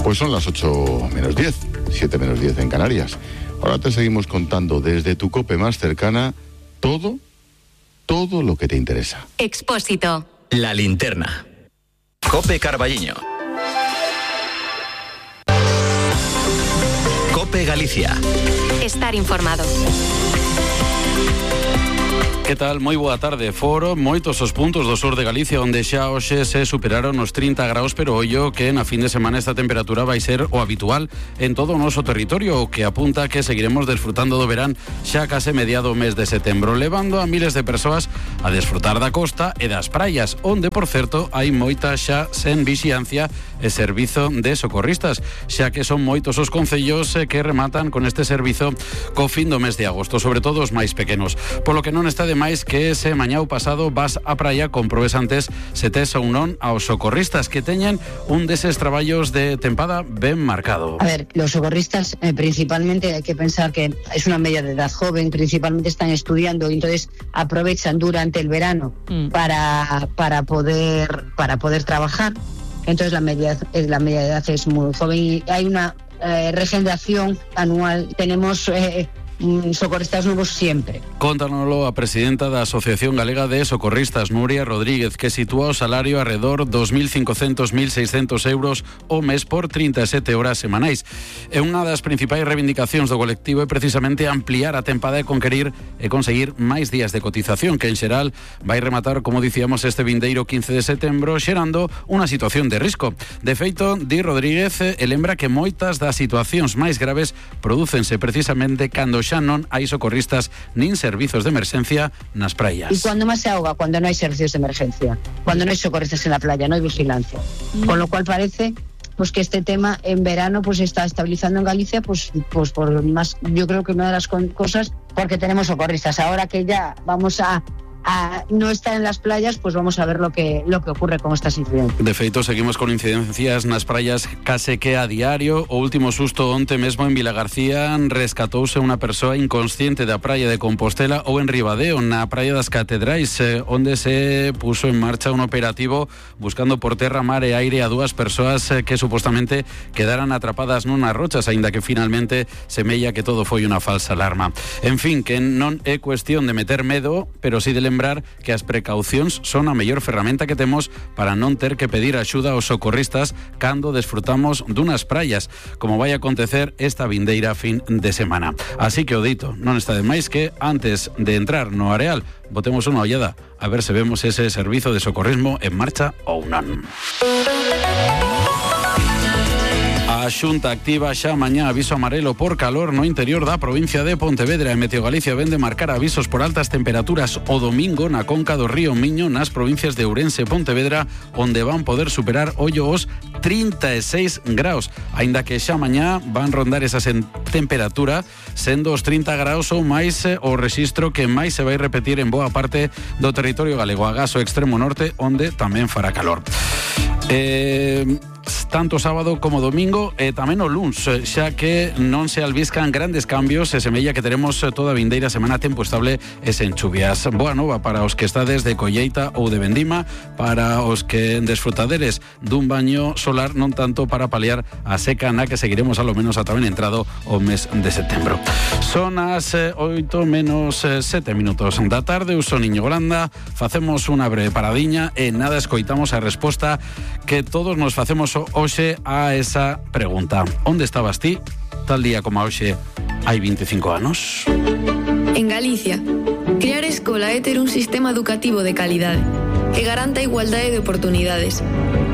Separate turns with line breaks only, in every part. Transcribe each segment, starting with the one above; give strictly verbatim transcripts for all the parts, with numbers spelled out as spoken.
Pues son las ocho menos diez, siete menos diez en Canarias. Ahora te seguimos contando desde tu COPE más cercana todo, todo lo que te interesa.
Expósito.
La linterna. COPE Carballiño. COPE Galicia.
Estar informado.
Que tal? Moi boa tarde. Foron moitos os puntos do sur de Galicia onde xa hoxe se superaron os trinta graus, pero ollo que na fin de semana esta temperatura vai ser o habitual en todo o noso territorio, o que apunta que seguiremos desfrutando do verán xa case mediado o mes de setembro, levando a miles de persoas a desfrutar da costa e das praias, onde, por certo, hai moita xa sen vixiancia e servizo de socorristas, xa que son moitos os concellos que rematan con este servizo co fin do mes de agosto, sobre todo os máis pequenos. Polo que non está de máis que ese mañá pasado vas á praia comprobes antes se tes ou non aos socorristas que teñen un deses traballos de tempada ben marcado.
A ver, los socorristas eh, principalmente hay que pensar que es una media de edad joven, principalmente están estudiando y entonces aprovechan durante el verano mm. para, para, poder, para poder trabajar. Entonces la media, la media de edad es muy joven y hay una eh, regeneración anual. Tenemos eh, socorristas nuevos siempre.
Contánoslo a presidenta da Asociación Galega de Socorristas, Nuria Rodríguez, que sitúa o salario arredor dos mil cincocentos a mil seiscentos euros o mes por trinta e sete horas semanais. E unha das principais reivindicacións do colectivo é precisamente ampliar a tempada e conquerir e conseguir máis días de cotización, que en xeral vai rematar, como dicíamos, este vindeiro quince de setembro, xerando unha situación de risco. De feito, di Rodríguez, e lembra que moitas das situacións máis graves prodúcense precisamente cando xa non hai socorristas nin servizos de emerxencia nas praias.
¿Y cuando más se ahoga? Cuando no hay servicios de emergencia, cuando no hay socorristas en la playa, no hay vigilancia. Mm. Con lo cual parece pues que este tema en verano pues se está estabilizando en Galicia, pues, pues por más, yo creo que una de las cosas, porque tenemos socorristas. Ahora que ya vamos a a no estar en las playas, pues vamos a ver lo que lo que ocurre con estas incidencias.
De feito, seguimos con incidencias nas praias case que a diario. O último susto onte mesmo en Vilagarcía rescatouse unha persoa inconsciente da praia de Compostela ou en Ribadeo, na praia das Catedrais, eh, onde se puso en marcha un operativo buscando por terra, mar e aire a dúas persoas eh, que supostamente quedaran atrapadas nunas rochas, aínda que finalmente semella que todo foi unha falsa alarma. En fin, que non é cuestión de meter medo, pero sí de lembrar que as precaucións son a mellor ferramenta que temos para non ter que pedir axuda aos socorristas cando desfrutamos dunas praias, como vai acontecer esta vindeira fin de semana. Así que o dito, non está de máis que antes de entrar no areal, botemos unha ollada a ver se vemos ese servizo de socorrismo en marcha ou non. A Xunta activa xa mañá aviso amarelo por calor no interior da provincia de Pontevedra. E Meteo Galicia vende marcar avisos por altas temperaturas o domingo na conca do río Miño nas provincias de Ourense e Pontevedra, onde van poder superar ollo os trinta e seis graus, aínda que xa mañá van rondar esa temperatura, sendo os trinta graus ou máis o rexistro que máis se vai repetir en boa parte do territorio galego, agás o extremo norte, onde tamén fará calor. Eh... tanto sábado como domingo e tamén o luns, xa que non se albiscan grandes cambios e semella que teremos toda a vindeira semana tempo estable e sen chuvias. Boa nova para os que estades de colleita ou de vendima, para os que desfrutaderes dun baño solar, non tanto para paliar a seca na que seguiremos alo menos ata ben entrado o mes de setembro. Son as oito menos sete minutos da tarde, eu son Iñigo Landa, facemos unha breve paradiña e nada, escoitamos a resposta que todos nos facemos hoxe a esa pregunta. Onde estabas ti tal día como hoxe hai veinticinco anos?
En Galicia, crear escola é ter un sistema educativo de calidade que garanta a igualdade de oportunidades,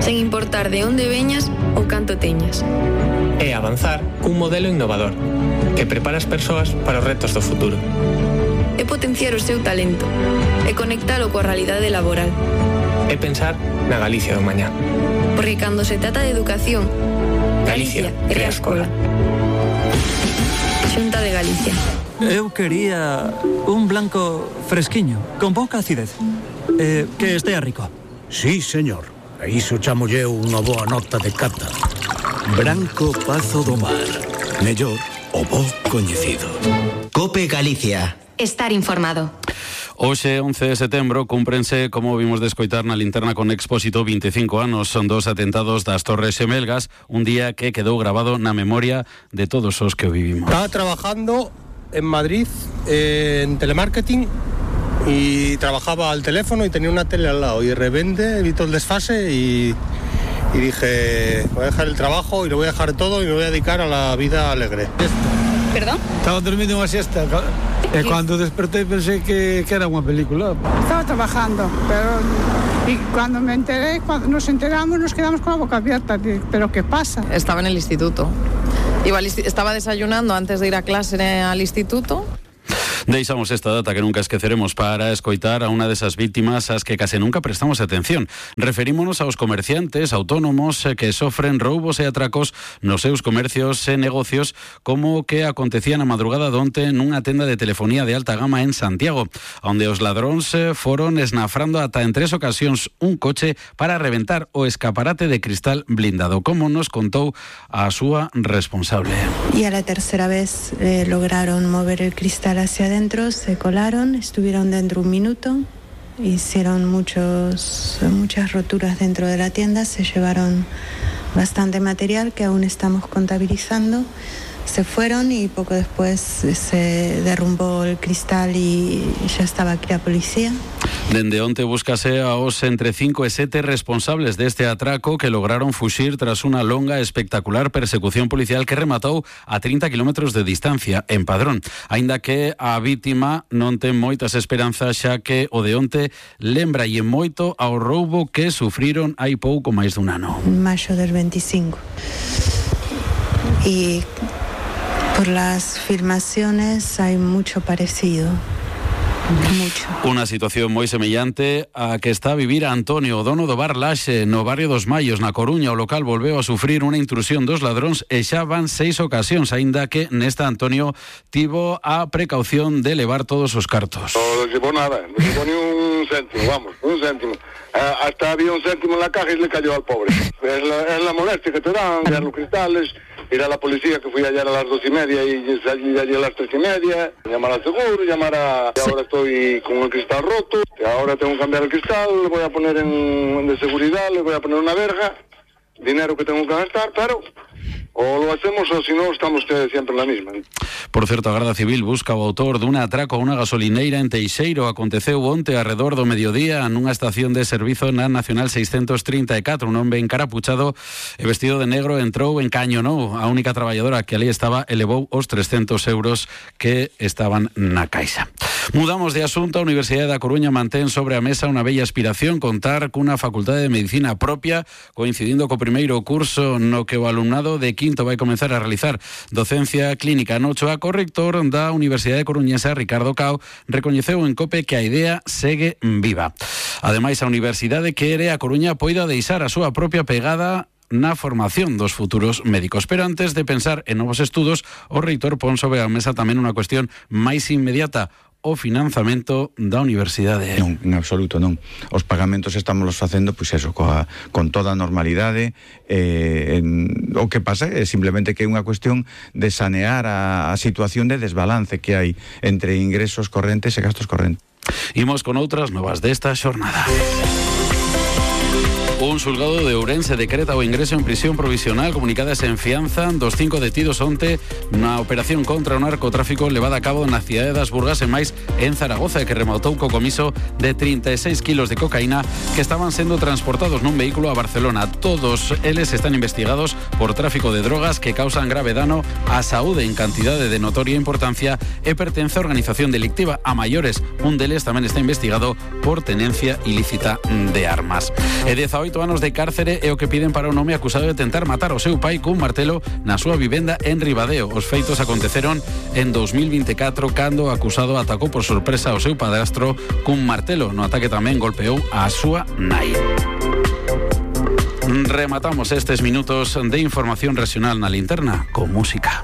sen importar de onde veñas ou canto teñas.
É avanzar cun modelo innovador que prepara as persoas para os retos do futuro.
É potenciar o seu talento e conectalo coa realidade laboral.
É pensar na Galicia do mañá.
Porque cando se trata de educación, Galicia, Galicia crea escola. Xunta de Galicia.
Eu quería un blanco fresquiño, con pouca acidez. Eh, que estea rico.
Sí, señor. A iso chamolle unha boa nota de cata. Branco Pazo do Mar. Mellor o bo coñecido.
COPE Galicia.
Estar informado.
Hoxe, once de setembro, cúmprense, como vimos de escoitar na linterna con Expósito, veinticinco anos. Son dos atentados das Torres Xemelgas, un día que quedou grabado na memoria de todos os que o vivimos.
Estaba trabajando en Madrid eh, en telemarketing y trabajaba al teléfono y tenía una tele al lado, y de repente vi todo el desfase y, y dije, voy a dejar el trabajo y lo voy a dejar todo y me voy a dedicar a la vida alegre.
¿Perdón?
Estaba durmiendo unha siesta e cando despertei pensei que, que era unha película.
Estaba trabajando, pero y cuando me enteré, cuando nos enteramos nos quedamos con la boca abierta. ¿Pero qué pasa?
Estaba en el instituto. Iba al, estaba desayunando antes de ir a clase al instituto.
Deixamos esta data que nunca esqueceremos para escoitar a unha desas vítimas ás que case nunca prestamos atención. Referímonos aos comerciantes autónomos que sofren roubos e atracos nos seus comercios e negocios, como que acontecía na madrugada donte nunha tenda de telefonía de alta gama en Santiago, onde os ladróns foron esnafrando ata en tres ocasións un coche para reventar o escaparate de cristal blindado, como nos contou a súa responsable.
Y a la tercera vez eh, lograron mover el cristal hacia adentro. Dentro, se colaron, estuvieron dentro un minuto, hicieron muchos, muchas roturas dentro de la tienda, se llevaron bastante material que aún estamos contabilizando. Se fueron y poco después se derrumbó el cristal y ya estaba aquí la policía.
Dende onte búscase aos entre cinco e sete responsables deste atraco que lograron fuxir tras unha longa e espectacular persecución policial que rematou a trinta kilómetros de distancia en Padrón. Aínda que a vítima non ten moitas esperanzas, xa que o de onte lembra e moito ao roubo que sufriron hai pouco máis dun ano.
En mayo del veinticinco. Y por las filmaciones hay mucho parecido. Mucho.
Unha situación moi semellante a que está a vivir Antonio, o dono do bar Laxe, no barrio dos Mallos, na Coruña. O local volveu a sufrir unha intrusión dos ladróns e xa van seis ocasións, aínda que nesta Antonio tivo a precaución de levar todos os cartos.
No llevó nada, no llevó ni un céntimo, vamos, un céntimo. Uh, hasta había un céntimo en la caja y le cayó al pobre. Es la, es la molestia que te dan, ver los cristales, ir a la policía, que fui ayer a las dos y media y salí de allí a las tres y media, llamar al seguro, llamar a... Sí. Ahora estoy con el cristal roto, ahora tengo que cambiar el cristal, le voy a poner en de seguridad, le voy a poner una verja, dinero que tengo que gastar, pero... o lo hacemos o si no estamos siempre en la misma.
Por certo, a Garda Civil busca o autor dun atraco a unha gasolineira en Teixeiro. Aconteceu onte arredor do mediodía nunha estación de servizo na Nacional seiscentos trinta e catro. Un hombre encarapuchado e vestido de negro entrou, encañonou a única traballadora que ali estaba e levou os trescentos euros que estaban na caixa. Mudamos de asunto. A Universidade da Coruña mantén sobre a mesa unha bella aspiración, contar cunha facultade de medicina propia, coincidindo co primeiro curso no que o alumnado de quinto vai comenzar a realizar docencia clínica no Ochoa. Co rector da Universidade Coruñesa, Ricardo Cao, recoñeceu en COPE que a idea segue viva. Ademais, a Universidade quere a Coruña poida deixar a súa propia pegada na formación dos futuros médicos. Pero antes de pensar en novos estudos, o reitor pon sobre a mesa tamén unha cuestión máis inmediata: o financiamento da universidade.
Non, en absoluto non. Os pagamentos estamos facendo, pois eso, coa, con toda a normalidade. Eh, en, o que pasa é simplemente que é unha cuestión de sanear a, a situación de desbalance que hai entre ingresos correntes e gastos correntes.
Imos con outras novas desta xornada. Un xulgado de Ourense decreta o ingreso en prisión provisional, comunicadas en fianza dos cinco detidos onte na operación contra o narcotráfico levada a cabo na cidade das Burgas e máis en Zaragoza, que rematou co comiso de trinta e seis kilos de cocaína que estaban sendo transportados nun vehículo a Barcelona. Todos eles están investigados por tráfico de drogas que causan grave dano á saúde en cantidade de notoria importancia e pertence a organización delictiva. A maiores, un deles tamén está investigado por tenencia ilícita de armas. E dezaoito anos de cárcere é o que piden para un home acusado de tentar matar o seu pai cun martelo na súa vivenda en Ribadeo. Os feitos aconteceron en dos mil veinticuatro, cando o acusado atacou por sorpresa ao seu padrastro cun martelo. No ataque tamén golpeou a súa nai. Rematamos estes minutos de información regional na linterna con música.